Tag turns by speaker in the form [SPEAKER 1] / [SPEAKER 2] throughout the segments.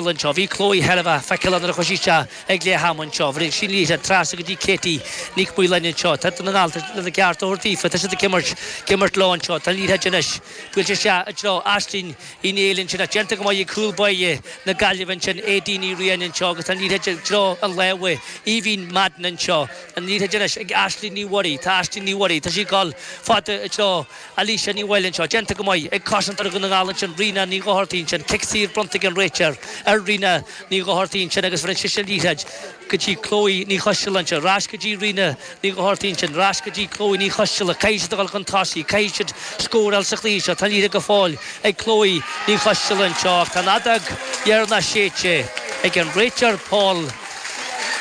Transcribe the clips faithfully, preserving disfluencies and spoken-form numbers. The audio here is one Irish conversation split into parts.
[SPEAKER 1] anseo. Bhí Chloe thar a bheith feiceálach nuair a chuaigh sí isteach ag leath ama anseo. Bhí sí liathróid trasna go dtí Katie Nic Mhaoileoin anseo. Tá Dún na nGall lena gceart a thabhairt daofa. Tá siad ag imirt, ag imirt leo anseo. Tá an liathróid anois buailte isteach i dtreo Aisling Uí Néill ansin ach déanta go maith ag cúl báire na Gaillimhe ansin, Aedín Ní Riain anseo agus tá an liathróid i dtreo an lámh Aoibhín Madden anseo. An liathróid anois ag Aisling Ní Mhuirí. Tá Aisling Ní Mhuirí, tá sí ag dul fada i dtreo Alicia Ní Mhaoil anseo. Déanta go maith ag cosantóir Dhún na nGall ansin, Ríona Ní Dhochartaigh ansin. Cic saor bronnta ag an réiteoir ar Ríona Ní Dhochartaigh ansin agus bheireann sise an liathróid go dtí Chloe Ní Choisteala anseo. Ar ais go dtí Ríona Ní Dhochartaigh ansin. Ar ais go dtí Chloe Ní Choisteala. Caithfidh siad a dhul chun tosaigh. Caithfidh siad scóráil sa chluiche seo. Tá an liathróid go fóill ag Chloe Ní Choisteala anseo ach tá an fheadóg dheireanach séidte ag an réiteoir Paul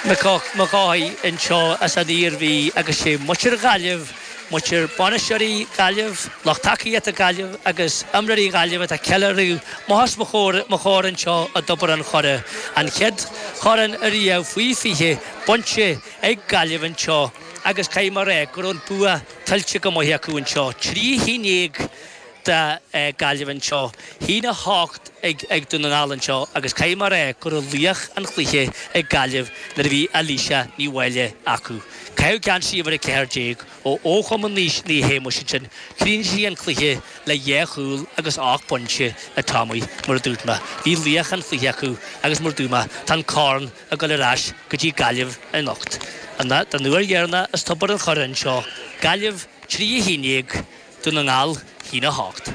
[SPEAKER 1] Mac Cárthaigh anseo as an Iarmhí agus sé muintir Ghaillimh, muintir bainisteoirí Ghaillimh, lucht tacaíochta Gaillimh agus imreoirí Ghaillimh atá ag ceiliúradh amach os mo chomhair anseo i dTobar an Choire. An chéad chorn ariamh faoi fiche bainte ag Gaillimh anseo agus caithfidh mé a rá go raibh an bua tuillte go maith acu anseo. Trí haon déag do Gaillimh anseo, haon a hocht ag Dún na nGall anseo agus caithfidh mé a rá go raibh laoch an chluiche ag Gaillimh nuair a bhí Alicia Ní Mháille acu. Caitheadh geansaí uimhir a ceathair déag ó ó Chumann Naomh Shéamuis ansin. Chríochnaigh sí an cluiche le dhá chúl agus ocht bpointe a Tommy, mar a dúirt mé. Bhí laoch an chluiche acu agus mar a dúirt mé, tá an corn ag dul ar ais go dtí Gaillimh anocht. Don uair dheireanach as Tobar an Choire anseo, Gaillimh trí a haon déag, Dún na nGall, haon a hocht.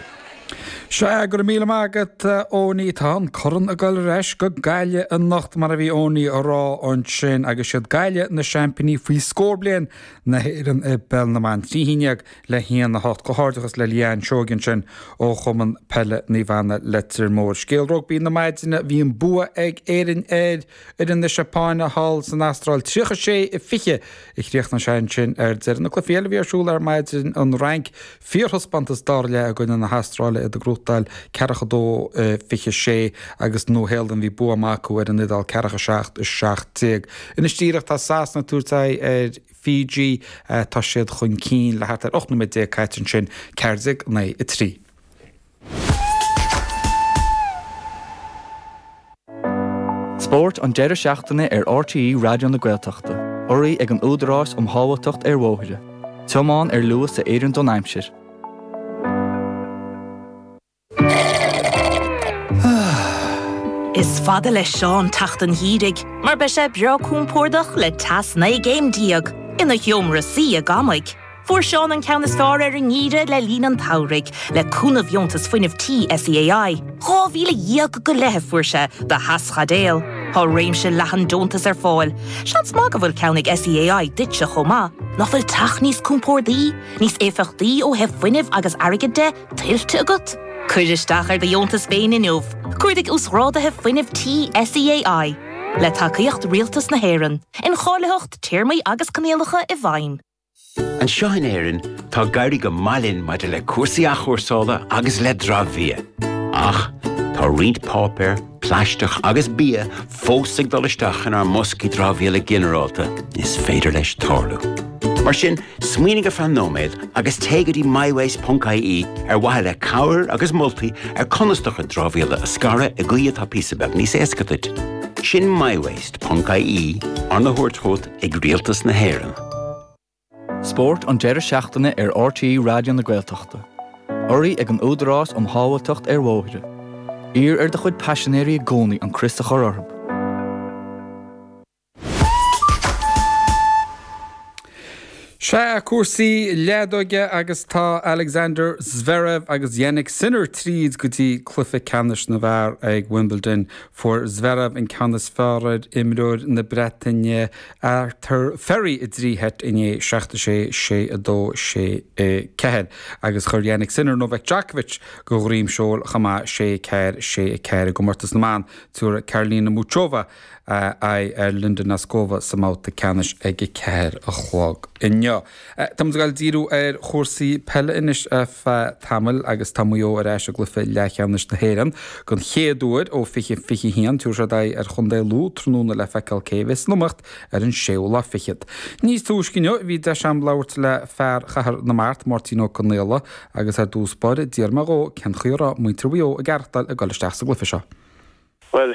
[SPEAKER 2] Sea, go raibh míle maith agat, a Eoiní. Tá an corn ag dul ar ais go Gaillimh anocht, mar a bhí Eoiní a rá ansin, agus siad Gaillimh na seaimpíní faoi scór bliain na hÉireann i bPeil na mBan. Trí haon déag le haon a hocht. Comhghairdeachas le Leanne Seoige ansin ó Chumann Peile Naomh Anna Leitir Móir. Scéal rugbaí na maidine, bhí an bua ag Éirinn ar fhoireann na Seapáine thall san Astráil, tríocha sé a fiche a chríochnaigh sé ansin ar deireadh. Na cluichí eile a bhí ar siúl ar maidin, an Fhrainc, fíorthaispeántas dara leath i gcoinne na hAstráile, iad ag gnóthachtáil ceathracha dó fiche sé agus Nua Shéalainn bhí bua maith acu ar an Iodáil ceathracha seacht a seacht déag. Anois díreach tá Sasana ag tabhairt aghaidh ar Fiji, tá siad chun cinn le thart ar ocht nóiméad déag caite ansin, ceathair déag naoi a trí.
[SPEAKER 3] Spórt an deireadh seachtaine ar RTÉ Raidió na Gaeltachta, urraithe ag an Údarás um Shábháilteacht ar Bhóithre. Tiomáin ar luas a oireann don aimsir.
[SPEAKER 4] Is fada le Seán teacht an gheimhridh mar beidh sé breá compordach le teas naoi gcéim déag ina sheomra suí i gCamaigh. Fuair Seán an ceann is fearr ar an ngeimhreadh le linn an tsamhraidh, le cúnamh Dheontas Fuinnimh Tí SEAI. Dhá mhíle dhéag go leith a fuair sé do theaschaidéal. Tá réimse leathan deontas ar fáil. Seans maith go bhfuil ceann ag SEAI duitse chomh maith. Nach bhfuil teach níos compórdaí, níos éifeachtaí ó thaobh fuinnimh agus airgid de, tuillte agat? Cuir isteach ar do dheontas féin inniu. Cuardaigh Uasghráduithe Fuinnimh Tí SEAI. Le tacaíocht Rialtas na hÉireann. Incháilitheacht, téarmaí agus coinníollacha i bhfeidhm.
[SPEAKER 5] Anseo in Éirinn, tá ag éirí go maith linn maidir le cúrsaí athchúrsála agus le dramhbhia. Ach tá roinnt páipéar, plaisteach agus bia fós ag dul isteach inár mboscaí dramhaíola ginearálta. Is féidir leis tarlú. Mar sin, smaoinigh ar feadh nóiméad agus téigh go dtí mywaste.ie ar mhaithe le cabhair agus moltaí ar conas do chuid dramhaíola a scaradh i gcaoi atá píosa beag níos éasca duit. Sin mywaste.ie arna thabhairt chugat ag Rialtas na hÉireann.
[SPEAKER 3] Spórt an deireadh seachtaine ar RTÉ Raidió na Gaeltachta. Urraithe ag an Údarás um Shábháilteacht ar Bhóithre. Iarr ar do chuid paisinéirí i gcónaí an crios a chur orthu.
[SPEAKER 2] Sea, cúrsaí leadóige agus tá Alexander Zverev agus Jannik Sinner tríd go dtí cluiche ceannais na bhfear ag Wimbledon. Fuair Zverev an ceann is fearr ar imreoir na Breataine Arthur Fery i dtrí sheit inné, seacht a sé, sé a dó, sé a ceathair, agus chuir Jannik Sinner Novak Djokovic de dhroim seoil chomh maith, sé a ceathair, sé a ceathair. I gcomórtas na mban, tabharfaidh Karolina Muchova aghaidh ar Linda Noskova sa mbabhta ceannais ag a ceathair a chlog inniu. Tá muid ag dul díriú ar chúrsaí peile anois ar feadh tamaill agus tá Maigh Eo ar ais i gcluiche leathcheannais na hÉireann den chéad uair ó fiche fiche haon. Tabharfaidh siad aghaidh ar Chontae Lú tráthnóna le feiceáil cé a bheas san iomaíocht ar an séú lá fichead. Níos túisce inniu bhí deis agam labhairt le fear Chathair na Mart, Máirtín Ó Conaola, agus ar dtús báire d'iarr mé dhó cén chaoi a raibh muintir Mhaigh Eo ag aireachtáil ag dul isteach sa gcluiche seo.
[SPEAKER 6] Well